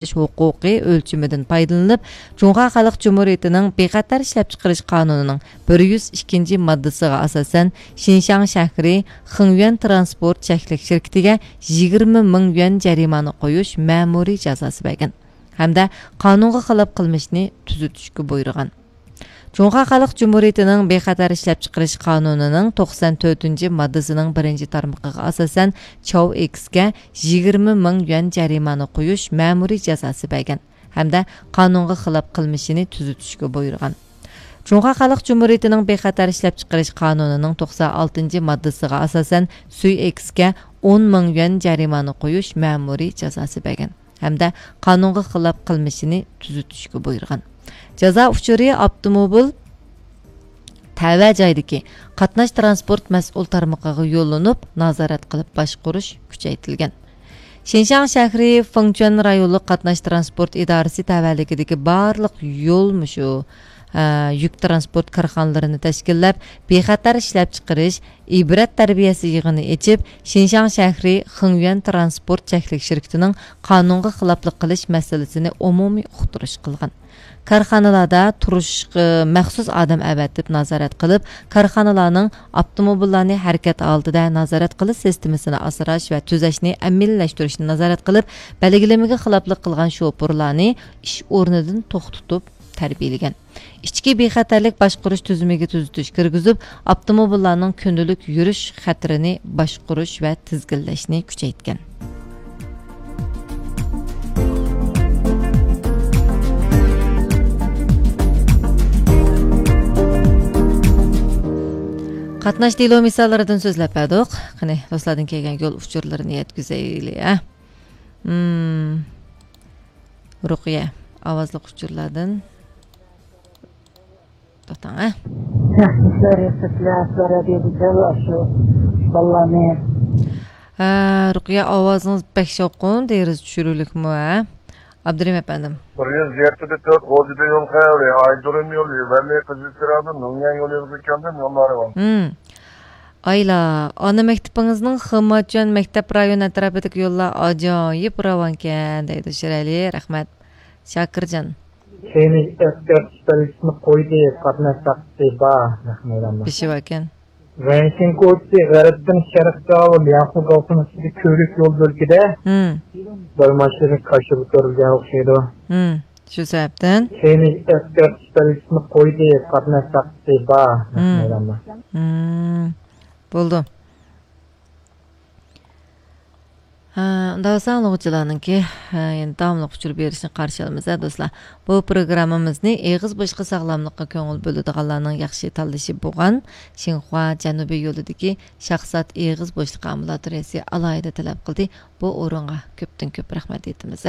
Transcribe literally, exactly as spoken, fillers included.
ھوقۇقى ئۆلچىمىدىن پايدىلىنىپ، جۇڭخۇا خەلق جۇمھۇرىيىتىنىڭ بىخەتەر ئىشلەپچىقىرىش قانۇنىنىڭ بىر يۈز ئىككىنچى ماددىسىغا ئاساسەن، شىنشاڭ شەھىرى خېڭيۈەن تىرانسپورت چەكلىك شىركىتىگە يىگىرمە مىڭ يۈەن جەرىمانە قويۇش مەمۇرىي جازاسى بەرگەن ھەمدە قانۇنغا خىلاپ قىلمىشنى تۈزىتىشكە بۇيرۇغان. جۇڭخۇا خەلق جۇمھۇرىيىتىنىڭ بىخەتەر ئىشلەپچىقىرىش قانۇنىنىڭ توقسان تۆتىنچى ماددىسىنىڭ بىرىنچى تارمىقىغا ئاساسەن، چاۋ ئېكسكە يىگىرمە مىڭ يۈەن جەرىمانە قويۇش مەمۇرىي جازاسى بەرگەن ھەمدە قانۇنغا خىلاپ قىلمىشىنى تۈزىتىشكە بۇيرۇغان. جۇڭخۇا خەلق جۇمھۇرىيىتىنىڭ بىخەتەر ئىشلەپچىقىرىش قانۇنىنىڭ توقسان ئالتىنچى ماددىسىغا ئاساسەن، سۈي ئېكسكە ئون مىڭ يۈەن جەرىمانە قويۇش مەمۇرىي جازاسى بەرگەن ھەمدە قانۇنغا خىلاپ قىلمىشىنى تۈزىتىشكە بۇيرۇغان. جازا ئۇچۇرى ئاپتوموبىل تەۋە جايدىكى قاتناش تىرانسپورت مەسئۇل تارمىقىغا يوللىنىپ، نازارەت قىلىپ باشقۇرۇش كۈچەيتىلگەن. شىنشاڭ شەھىرى فېڭچۈەن رايونلۇق قاتناش تىرانسپورت ئىدارىسى تەۋەلىكىدىكى بارلىق يول مۇشۇ، ئە، يۈك تىرانسپورت كارخانىلىرىنى تەشكىللەپ، بىخەتەر ئىشلەپچىقىرىش، ئىبرەت تەربىيەسى يىغىنى ئېچىپ، شىنشاڭ شەھىرى خېڭيۈەن تىرانسپورت چەكلىك شىركىتىنىڭ قانۇنغا خىلاپلىق قىلىش مەسىلىسىنى ئومۇمىي ئۇقتۇرۇش قىلغان. كارخانىلاردا تۇرۇشقا مەخسۇس ئادەم ئەۋەتىپ نازارەت قىلىپ، كارخانىلارنىڭ ئاپتوموبىللارنى ھەرىكەت ھالىتىدە نازارەت قىلىش سىستېمىسىنى ئاسراش ۋە تۈزەشنى ئەمەلىيلەشتۈرۈشنى نازارەت قىلىپ، بەلگىلىمىگە خىلاپلىق قىلغان شوپۇرلارنى ئىش ئورنىدىن توختىتىپ تەربىيەلىگەن. ئىچكى بىخەتەرلىك باشقۇرۇش تۈزۈمىگە تۈزىتىش كىرگۈزۈپ، ئاپتوموبىللارنىڭ كۈندىلىك يۈرۈش خەتىرىنى باشقۇرۇش ۋە تىزگىنلەشنى كۈچەيتكەن. قاتناش دېلو مىساللىرىدىن سۆزلەپ بەردۇق. قېنى، دوستلاردىن كەلگەن يول ئۇچۇرلىرىنى يەتكۈزەيلى، ھە؟ مم. رۇقىيە، ئاۋازلىق ئۇچۇرلاردىن. توختاڭ، ھە؟ ياخشى ئىشلار ياسىسىلەر، سورا دېدى دەل ئاشۇ بالىلارنى. ھە، رۇقىيە، ئاۋازىڭىز بەك شاۋقۇن، دېرىزە چۈشۈرۈلۈكمۇ، ھە؟ ئابدۇرېھىم ئەپەندىم. بىر يۈز يەتتە تۆت غوجىدا يول خەۋىرى، ئايجۇرۇم يولى، ۋەلى قىزىلچىراغدىن نۇڭيەن يولى يۈزىگە كەلدىم، يوللار راۋان. ھىم. ئايلا، ئانا مەكتىپىڭىزنىڭ خېماچۈەن مەكتەپ رايونى ئەتراپىدىكى يوللار ئاجايىپ راۋانكەن، دەيدۇ شىرئەلى. رەھمەت. شاكىرجان. كېيىن ئەسكەرتىش بەلگىسىنى قويدى، قاتناش تاختىسى بار. رەھمەت، ئەمما. بېشى باركەن. ۋەنشىن كوچىسى غەربتىن شەرققە ئاۋۇ لياڭخۇ گاۋخۇنىڭ ئىچىدە كۆۋرۈك يول بۆلىكىدە ھىم. بىر ماشىنا كاشىغا كۆتۈرۈلگەن ئوخشايدۇ. ھىم. شۇ سەۋەبتىن. كېيىن ئەسكەرتىش بەلگىسىنى قويدى، قاتناش تاختىسى بار. مم. مەيداندا. مم. بولدى. ھە، ئۇنداق بولسا ئاڭلىغۇچىلارنىڭكى، ھە، يەنە داۋاملىق ئۇچۇر بېرىشىنى قارشى ئالىمىز، ھە، دوستلار. بۇ پروگراممىمىزنى ئېغىز بوشلۇقى ساغلاملىققا كۆڭۈل بۆلىدىغانلارنىڭ ياخشى تاللىشى بولغان شىنخۇا جەنۇبىي يولىدىكى شاخسات ئېغىز بوشلۇقى ئامبۇلاتورىيەسى ئالاھىدە تەلەپ قىلدى. بۇ ئورۇنغا كۆپتىن كۆپ رەھمەت ئېيتىمىز.